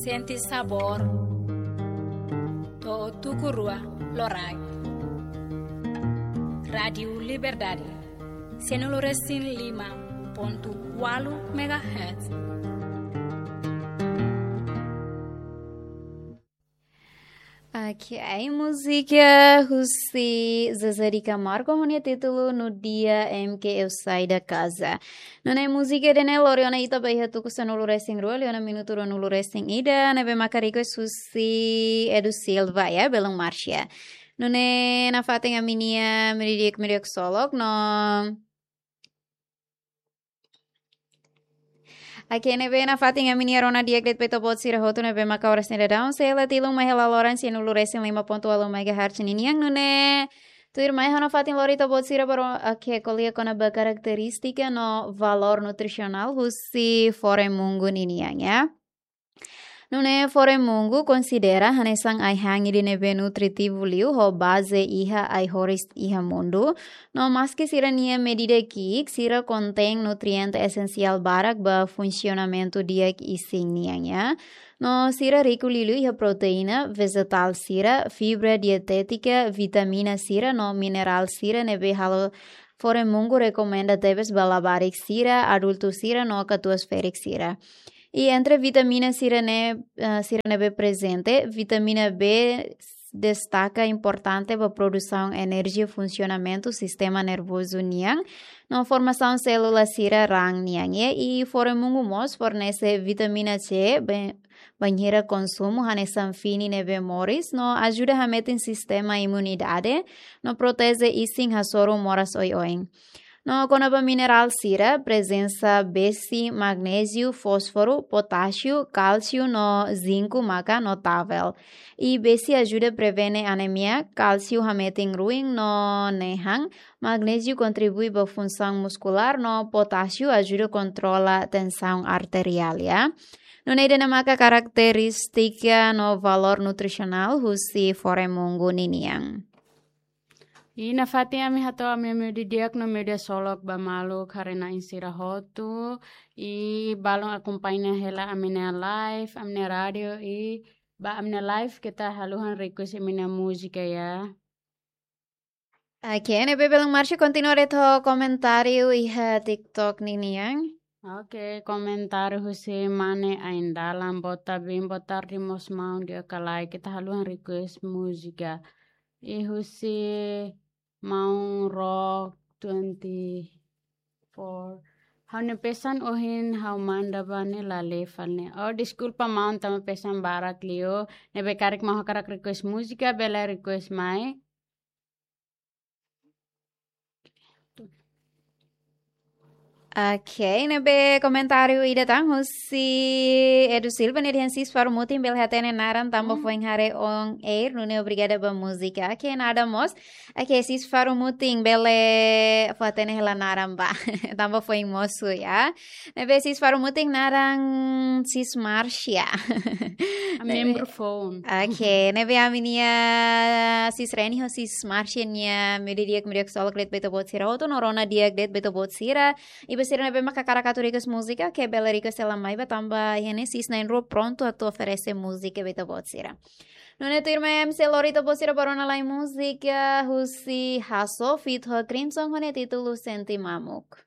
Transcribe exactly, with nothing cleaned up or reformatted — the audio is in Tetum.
Sente sabór. To'o tuku rua loraik. Rádiu Liberdade. Sanulu resin lima pontu ualu megahertz. Ok, múzika husi Zezé de Camargo ho nia títulu No Dia em que Eu Saí da Casa. Nune'e múzika ida-ne'e lori ona ita ba iha tuku sanulu resin rua, liu ona minutu ruanulu resin ida, ne'ebé maka request husi Edu Silva, ya, Belun Marcia. Nune'e nafatin ami-nia meiudia di'ak, meiudia ksolok, no Ok, ne'ebé nafatin ami-nia rona di'ak de'it ba ita-boot sira hotu ne'ebé maka oras ne'e daudaun sei hela tilun mai hela loron sanulu resin lima pontu ualu megahertz ninian. Nune'e tuirmai ha'u nafatin lori ita-boot sira ba ro-, ok, ko'alia kona-ba karakterístika no valór nutrisionál husi fore-mungu ninian, ya. Nune'e fore-mungu konsidera hanesan ai-han ida ne'ebé nutritivu liu ho baze iha ai-horis iha mundu. No maski sira-nia medida ki'ik, sira kontein nutriente esensiál barak ba funsionamentu di'ak isin nian, ya. No sira riku liuliu iha proteína vejetál sira, fibra dietétika, vitamina sira no minerál sira ne'ebé halo fore-mungu rekomenda tebes ba labarik sira, adultu sira no katuas-ferik sira. I entre vitamina sira-ne'e, eh, sira ne'ebé prezente, vitamina B destaka importante ba produsaun enerjia, funsionamentu sistema nervozu nian, no formasaun sélula sira raan nian, ya. I fore-mungu mós fornese vitamina C, be-, bainhira konsumu hanesan fini ne'ebé moris, no ajuda hametin sistema imunidade, no proteje isin hasoru moras oioin. No kona-ba minerál sira, prezensa besi, magnéziu, fósforu, potásiu, kálsiu no zinku maka notável. I besi ajuda prevene anemia, kálsiu hametin ruin no nehan, magnéziu kontribui ba funsaun muskulár no potásiu ajuda kontrola tensaun arteriál, ya. Nune'e ida-ne'e maka karakterístika no valór nutrisionál husi fore-mungu ninian. I nafatin ami hato'o ami-nia meiudia di'ak no meiudia ksolok ba maluk haree-na'in sira hotu. I balun akompaña hela ami-nia live, ami-nia rádiu, i ba ami-nia live keta haluhan request ami-nia múzika, ya. Ok, ne'ebé Belun Marcia kontinua de'it ho komentáriu iha TikTok ninian. Ok, komentáriu husi Mane Aindalan, boa tarde, boa tarde, mós maun di'ak ka lae, keta haluhan request múzika. I husi Maun Rock twenty-four. Ha'u-nia pesan ohin ha'u manda ba ne'e la lee fali ne'e. Oh, deskulpa maun, tanba pesan barak liu. Ne'ebé karik maun hakarak request múzika, bele request mai. Ok, ne'ebé komentáriu ida tan husi Edu Silva, nia dehan: Sis Faru Mutin, bele hatene naran tanba foin haree on air, nune'e obrigada ba múzika. Ok, nada mós. Ok, Sis Faru Mutin, bele fó hatene hela naran ba. Tanba foin mosu, ya. Ne'ebé Sis Faru Mutin, naran Sis Marcia. Ami membru foun. Ok, ne'ebé ami-nia Sis Reni ho Sis Marcia nia meiudia di'ak, meiudia ksolok de'it ba ita-boot sira hotu, no rona di'ak de'it ba ita-boot sira. I ba sira ne'ebé maka hakarak atu request múzika, ke bele request hela mai ba, tanba iha ne'e sis na'in-rua prontu atu oferese múzika ba ita-boot sira. Nune'e tuirmai ami sei lori ita-boot sira ba rona lai múzika husi Hasso feat ho Crimson ho nia títulu Sente Mamuk.